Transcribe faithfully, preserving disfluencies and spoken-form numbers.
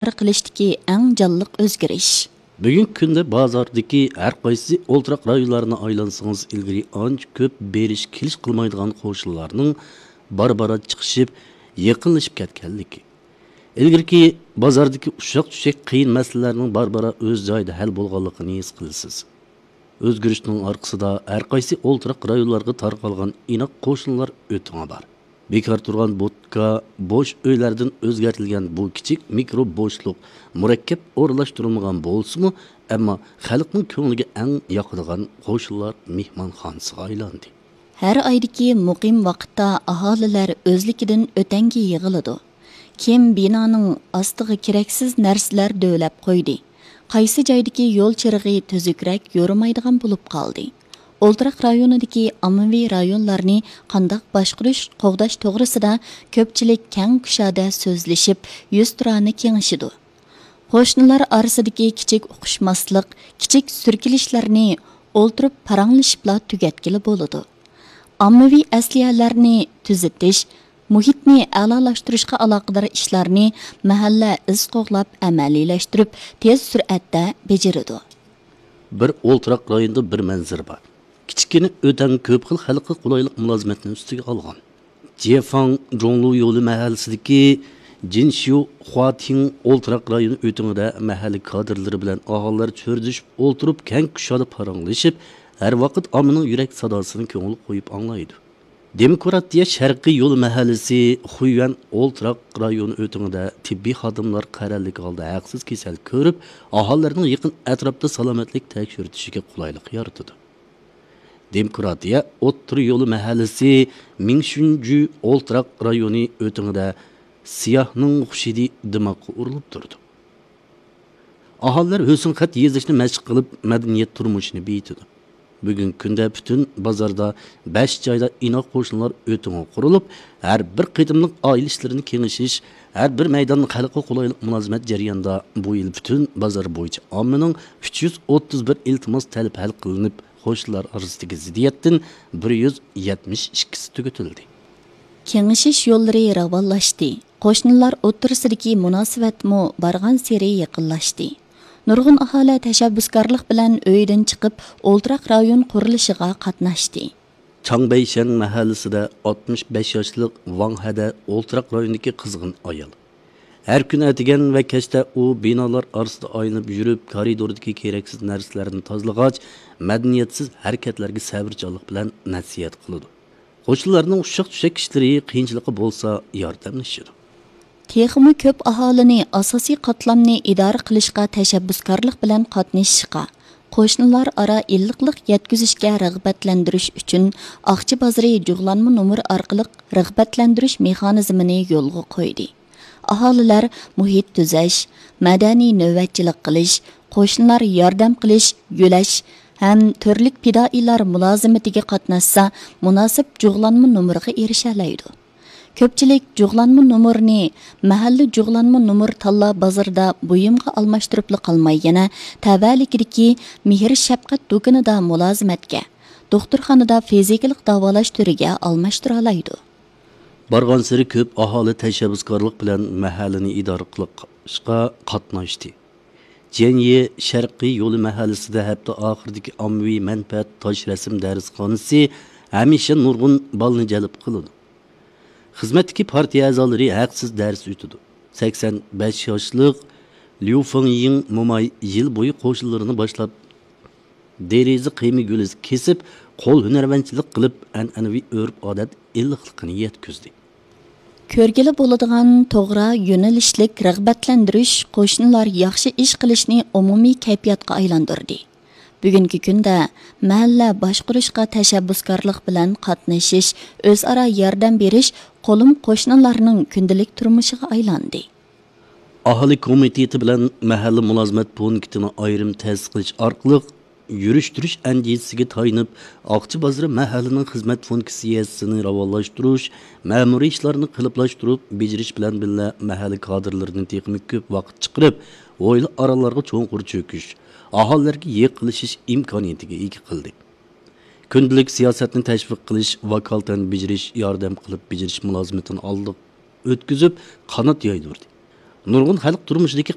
ئىدارە قىلىشتىكى ئەڭ جانلىق ئۆزگىرىش. بۈگۈنكى كۈندە بازاردىكى ھەر قايسى ئولتۇراق رايونلارنى ئايلانسىڭىز، ئىلگىرى ئانچە كۆپ بېرىش-كېلىش قىلمايدىغان قوشنىلارنىڭ بارا-بارا چىقىشىپ، يېقىنلىشىپ كەتكەنلىكى، ئىلگىرىكى بازاردىكى ئۇششاق-چۈششەك قىيىن مەسىلىلەرنىڭ بارا-بارا ئۆز جايىدا ھەل بولغانلىقىنى ھېس قىلىسىز. ئۆزگىرىشنىڭ ئارقىسىدا ھەر قايسى ئولتۇراق رايونلارغا تارقالغان ئىناق قوشنىلار ئۆتىڭى بار. بىكار تۇرغان بوتكا، بوش ئۆيلەردىن ئۆزگەرتىلگەن بۇ كىچىك مىكرو بوشلۇق مۇرەككەپ ئورۇنلاشتۇرۇلمىغان بولسىمۇ، ئەمما خەلقنىڭ كۆڭلىگە ئەڭ ياقىدىغان قوشنىلار مېھمانخانىسىغا ئايلاندى. ھەر ئايدىكى مۇقىم ۋاقىتتا ئاھالىلەر ئۆزلۈكىدىن ئۆتەڭگە يىغىلىدۇ. كىم بىنانىڭ ئاستىغا كېرەكسىز نەرسىلەر دۆۋىلەپ قويدى، قايسى جايدىكى يول چىرىغى تۈزۈكرەك يورۇمايدىغان بولۇپ قالدى. ئولتۇراق رايونىدىكى ئاممىۋى رايونلارنى قانداق باشقۇرۇش، قوغداش توغرىسىدا كۆپچىلىك كەڭ كۇشادە سۆزلىشىپ، يۈزتۇرانە كېڭىشىدۇ. قوشنىلار ئارىسىدىكى كىچىك ئۇقۇشماسلىق، كىچىك سۈركىلىشلەرنى ئولتۇرۇپ پاراڭلىشىپلا تۈگەتكىلى بولىدۇ. ئاممىۋى ئەسلىھەلەرنى تۈزىتىش، مۇھىتنى ئەلالاشتۇرۇشقا ئالاقىدار ئىشلارنى مەھەللە ئىز قوغلاپ ئەمەلىيلەشتۈرۈپ، تېز سۈرئەتتە بېجىرىدۇ. بىر ئولتۇراق رايوندا بىر مەنزىرە بار. كىچىككىنە ئۆتەڭ كۆپ خىل خەلققە قولايلىق مۇلازىمەتنى ئۈستىگە ئالغان. جيەفاڭ جوڭلۇ يولى مەھەللىسىدىكى جىنشيۇ خۇاتىڭ ئولتۇراق رايونى ئۆتىڭىدە مەھەللە كادىرلىرى بىلەن ئاھالىلەر چۆرىدىشىپ ئولتۇرۇپ، كەڭ كۇشادە پاراڭلىشىپ، ھەر ۋاقىت ئاممىنىڭ يۈرەك ساداسىنى كۆڭۈل قويۇپ ئاڭلايدۇ. دېموكراتىيە شەرقىي يولى مەھەللىسى خۇيۈەن ئولتۇراق رايونى ئۆتىڭىدە تېببىي خادىملار قەرەللىك ھالدا ھەقسىز كېسەل كۆرۈپ، ئاھالىلەرنىڭ يېقىن ئەتراپتا سالامەتلىك تەكشۈرتۈشىگە قولايلىق يارىتىدۇ. دېموكراتىيە ئوتتۇرا يولى مەھەللىسى مىڭشۈنجۈ ئولتۇراق رايونى ئۆتىڭىدە سىياھنىڭ خۇشىدى دىماغقا ئۇرۇلۇپ تۇرىدۇ. ئاھالىلەر ھۆسن خەت يېزىشنى مەشىق قىلىپ، مەدەنىيەت تۇرمۇشىنى بېيىتىدۇ. بۈگۈنكى كۈندە پۈتۈن بازاردا بەش جايدا ئىناق قوشنىلار ئۆتىڭى قۇرۇلۇپ، ھەر بىر قېتىملىق ئائىلە ئىشلىرىنى كېڭىشىش، ھەر بىر مەيداندا خەلققە قولايلىق مۇلازىمەت جەريانىدا بۇ يىل پۈتۈن بازار بويىچە ئاممىنىڭ ئۈچ يۈز ئوتتۇز بىر ئىلتىماس تەلىپى ھەل قىلىنىپ، قوشنىلار ئارىسىدىكى زىددىيەتتىن بىر يۈز يەتمىش ئىككىسى تۈگىتىلدى. كېڭىشىش يوللىرى راۋانلاشتى. قوشنىلار ئوتتۇرىسىدىكى مۇناسىۋەتمۇ بارغانسېرى يېقىنلاشتى. نۇرغۇن ئاھالە تەشەببۇسكارلىق بىلەن ئۆيىدىن چىقىپ، ئولتۇراق رايون قۇرۇلۇشىغا قاتناشتى. چاڭبەيشەن مەھەللىسىدە ئاتمىش بەش ياشلىق ۋاڭ ھەدە ئولتۇراق رايوندىكى قىزغىن ئايال. ھەر كۈنى ئەتىگەن ۋە كەچتە ئۇ بىنالار ئارىسىدا ئايلىنىپ يۈرۈپ، كارىدوردىكى كېرەكسىز نەرسىلەرنى تازىلىغاچ، مەدەنىيەتسىز ھەرىكەتلەرگە سەۋرچانلىق بىلەن نەسىھەت قىلىدۇ. قوشنىلارنىڭ ئۇششاق-چۈششەك ئىشلىرى، قىيىنچىلىقى بولسا ياردەملىشىدۇ. تېخىمۇ كۆپ ئاھالىنى ئاساسىي قاتلامنى ئىدارە قىلىشقا تەشەببۇسكارلىق بىلەن قاتنىشىشقا، قوشنىلار ئارا ئىللىقلىق يەتكۈزۈشكە رىغبەتلەندۈرۈش ئۈچۈن، ئاقچا بازىرى جۇغلانما نومۇر ئارقىلىق رىغبەتلەندۈرۈش مېخانىزمىنى يولغا قويدى. ئاھالىلەر مۇھىت تۈزەش، مەدەنىي نۆۋەتچىلىك قىلىش، قوشنىلار ياردەم قىلىش، يۆلەش ھەم تۈرلۈك پىدائىيلار مۇلازىمىتىگە قاتناشسا، مۇناسىپ جۇغلانما نومۇرغا ئېرىشەلەيدۇ. كۆپچىلىك جۇغلانما نومۇرنى مەھەللە جۇغلانما نومۇر تاللا بازىرىدا بۇيۇمغا ئالماشتۇرۇپلا قالماي، يەنە تەۋەلىكىدىكى مېھىر-شەپقەت دۇكىنىدا مۇلازىمەتكە، دوختۇرخانىدا فىزىكىلىق داۋالاش تۈرىگە ئالماشتۇرالايدۇ. بارغانسېرى كۆپ ئاھالى تەشەببۇسكارلىق بىلەن مەھەللىنى ئىدارە قىلىشقا قاتناشتى. جيەنيې شەرقىي يولى مەھەللىسىدە ھەپتە ئاخىرىدىكى ئاممىۋى مەنپەئەت تاش رەسىم دەرسخانىسى ھەمىشە نۇرغۇن بالىنى جەلپ قىلىدۇ. خىزمەتتىكى پارتىيە ئەزالىرى ھەقسىز دەرس ئۆتىدۇ. سەكسەن بەش ياشلىق ليۇ فېڭيىڭ موماي يىل بويى قوشنىلىرىنى باشلاپ، دېرىزە قىيما گۈلىسى كېسىپ، قول ھۈنەرۋەنچىلىك قىلىپ، ئەنئەنىۋى ئۆرپ-ئادەت ئىللىقلىقىنى يەتكۈزدى. كۆرگىلى بولىدىغان توغرا يۆنىلىشلىك رىغبەتلەندۈرۈش قوشنىلار ياخشى ئىش قىلىشنى ئومۇمىي كەيپىياتقا ئايلاندۇردى. بۈگۈنكى كۈندە مەھەللە باشقۇرۇشقا تەشەببۇسكارلىق بىلەن قاتنىشىش، ئۆزئارا ياردەم بېرىش قولۇم قوشنىلارنىڭ كۈندىلىك تۇرمۇشىغا ئايلاندى. ئاھالە كومىتېتى بىلەن مەھەللە مۇلازىمەت پونكىتىنى ئايرىم تەسىس قىلىش ئارقىلىق يۈرۈشتۈرۈش ئەندىزىسىگە تايىنىپ، ئاقچا بازىرى مەھەللىنىڭ خىزمەت فۇنكسىيەسىنى راۋانلاشتۇرۇش، مەمۇرىي ئىشلارنى قېلىپلاشتۇرۇپ بېجىرىش بىلەن بىللە، مەھەللە كادىرلىرىنى تېخىمۇ كۆپ ۋاقىت چىقىرىپ، ھويلا ئارانلارغا چوڭقۇر چۆكۈش، ئاھالىلەرگە يېقىنلىشىش ئىمكانىيىتىگە ئىگە قىلدى. كۈندىلىك سىياسەتنى تەشۋىق قىلىش، ۋاكالىتەن بېجىرىش، ياردەم قىلىپ بېجىرىش مۇلازىمىتىنى ئالدىغا ئۆتكۈزۈپ، قانات يايدۇردى. نۇرغۇن خەلق تۇرمۇشىدىكى